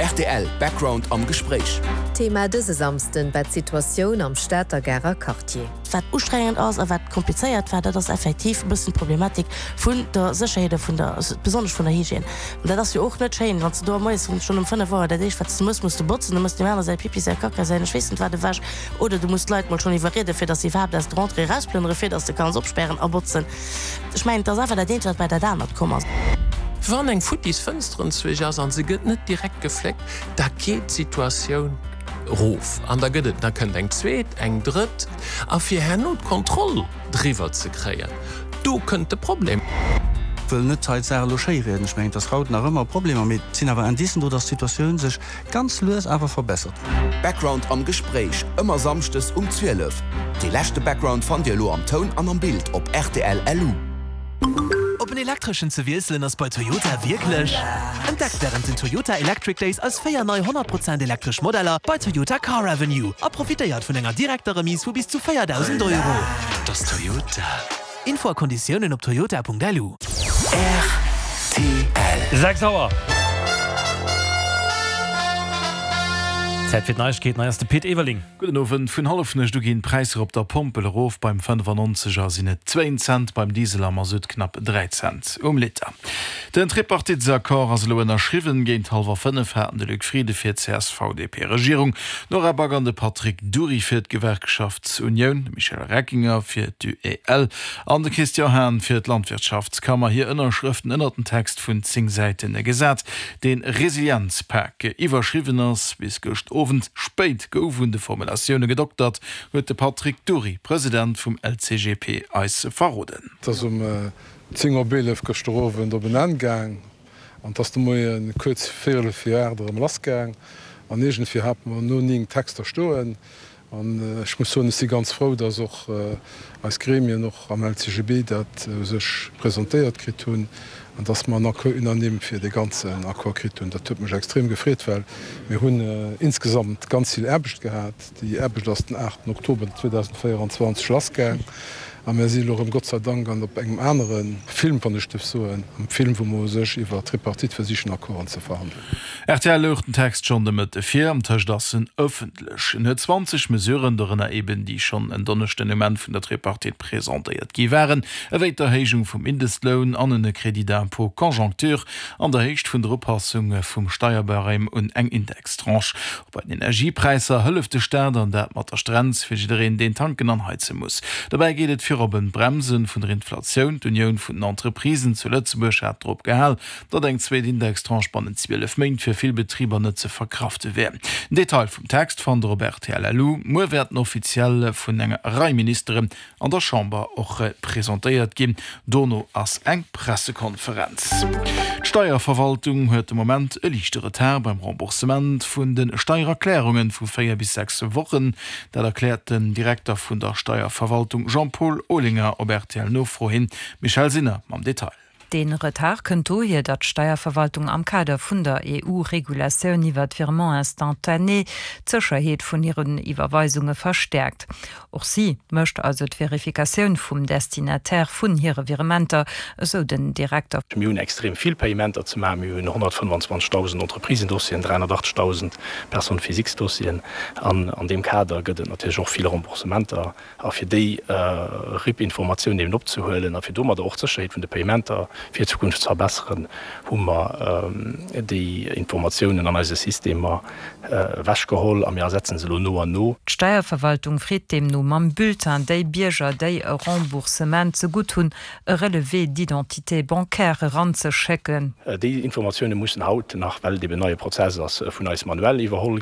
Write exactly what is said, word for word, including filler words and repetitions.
R T L Background am Gespréich. Thema dëse Samschden war d'Situatioun am Stater Garer Quartier. Wat ustrengend ass a wat komplizéiert war, dat ass effektiv e bëssen d'Problematik vun der Sécherheet a vun der besonnesch vun der Hygiène. An dat ass jo och net schéin, wann s de do moies schonn um fënnef Auer dat éischt wat s de muss, muss de botzen, du muss dem aner säi Pipi, säi Kacka, säin ech weess net wat ewech oder du muss d'Leit mol schonn iwwerriede fir datt se iwwerhaapt aus der Entrée erausplënnere fir datt s de kanns opspären a botzen. Ech mengen, et ass einfach dat eent wat bei dat anert komm ass. Wann eng futtis Fënster enzwousch ass an se gëtt net direkt gefléckt, da geet d'Situatioun erof an da gëtt et, da kënnt eng zweet, eng drëtt a fir herno d'Kontroll driwwer ze kréien, do kënnt de Problem. Wëll net hei d'Saach elo schéi rieden, ech mengen, et ass haut nach ëmmer Problemer, mee et sinn awer Indicen do, dass d'Situatioun sech ganz lues awer verbessert. Background am Gespréich, ëmmer samschdes um zwielef. Dee leschte Background fannt Dir elo am Toun an am Bild op rtl L U. Op en elektreschen ze wiesselen ass bei Toyota wierklech. Entdeckt wärend den Toyota Electric Days eis véier nei honnert Prozent elektresch Modeller bei Toyota Car Avenue a profitéiert vun enger direkter Remise vu bis zu véierdausend Euro. Dat ass Toyota. Info a Konditiounen op toyota Punkt L U. R T L. Sechs Auer. Zäit fir d'Neiegkeeten, hei ass de Pit Everling. Gudden Owend. Vun Hallefnuecht u ginn d'Präisser op der Pompel erof. Beim fënnefannonzeger sinn et zwéin Cent, beim Diesel a Masutt knapp dräi Cent um Liter. Den Tripartitesaccord ass elo ënnerschriwwen. Géint hallwer fënnef haten de Luc Frieden fir d'C S V D P-Regierung, d'Nora Back an de Patrick Dury fir d'Gewerkschaftsunioun, de Michel Reckinger fir d'U E L an de Christian Hahn fir d'Landwirtschaftskammer hir Ënnerschrëften ënnert den Text vun zéng Säite gesat, dee Resilienzpak iwwerschriwwen ass. Bis gëscht Owend spéit gouf un de Formulatioune gedoktert, huet de Patrick Dury, President vum L C G P, eis verroden. Et ass um zéng op eelef gëschter Owend op en Enn gaang an et ass de Moie kuerz véierel vir aacht erëm lassgaang. An iergendwéi hate mer no néng Texter stoen. An ech muss soen, ech si ganz frou, dass och eis Gremien och am L C G B dat u sech presentéiert kritt hunn an dass mer en Accord unanime fir dee ganzen Accord kritt hunn. Dat huet mech extrem gefreet, well mir hunn insgesamt ganz vill Aarbecht gehat. Déi Aarbecht ass den aachten Oktober zweedausendvéierenzwanzeg lassgaang a mir si elo erëm, Gott sei Dank, an op engem anere Film, wann ech dierf soen, am Film, wou mer u sech iwwer Tripartite versichen Accorden ze verhandelen. R T L louch den Text schonn de Mëtte vir, antëscht ass en ëffentlech. En huet zwanzeg Mesuren, dorënner eben déi schonn en Donneschden um Enn vun der Tripartite presentéiert gi waren, ewéi d'Erhéijung vum Mindestloun an en Crédit d'impôt conjoncture an der Héicht vun der Upassung vum Steierbarème un eng Indextranche. Och bei den Energiepräisser hëlleft de Staat, an dat mat der Strenz fir jiddereen, deen tanken an heize muss. Dobäi geet et virop ëm d'Bremse vun der Inflatioun. D'Unioun vun den Entreprisen zu Lëtzebuerg hat drop gehal, datt eng zweet Indextranche bannent zwielef Méint fir vill Betriber net ze verkrafte wär. Den Detail vum Text fannt der op R T L L U. Muer wäert en offiziell vun enger Rei Ministeren an der Chamber och presentéiert ginn. Dono ass eng Pressekonferenz. D'Steierverwaltung huet de Moment e liichte Retard beim Remboursement vun de Steiererklärunge vu véier bis sechs Wochen. Dat erkläert den Direkter vun der Steierverwaltung Jean-Paul Olinger op R T L-Nofro hin. Michèle Sinner mam Detail. Den Retard kënnt dohier, datt d'Steierverwaltung am Kader vun der E U-Regulatioun iwwer d'Virement instantané d'Sécherheet vun hiren Iwwerweisunge verstäerkt. Och si mécht also d'Verifikatioun vum Destinataire vun hire Virementer, esou den Direkter. Mir hunn extrem vill Payementer ze maachen. Mir hunn honnertfënnefenzwanzegdausend Entreprisendossieren, dräihonnertachtzegdausend Personnes physiques-Dossieren. An an deem Kader gëtt et natierlech och vill Remboursementer. A fir déi R I P-Informatioun eben opzehuelen a fir domadder och d'Sécherheet vun de Payementer fir d'Zukunft ze verbesseren, hu mer déi Informatiounen an eise Systemer ewechgeholl a mir ersetzen se elo no an no. D'Steierverwaltung freet deemno mam Bulletin déi Bierger, déi e Remboursement ze gutt hunn, e Relevé d'identité bancaire eranzeschécken. Déi Informatioune mussen haut nach, well et eben en neie Prozess ass, vun eis manuell iwwerholl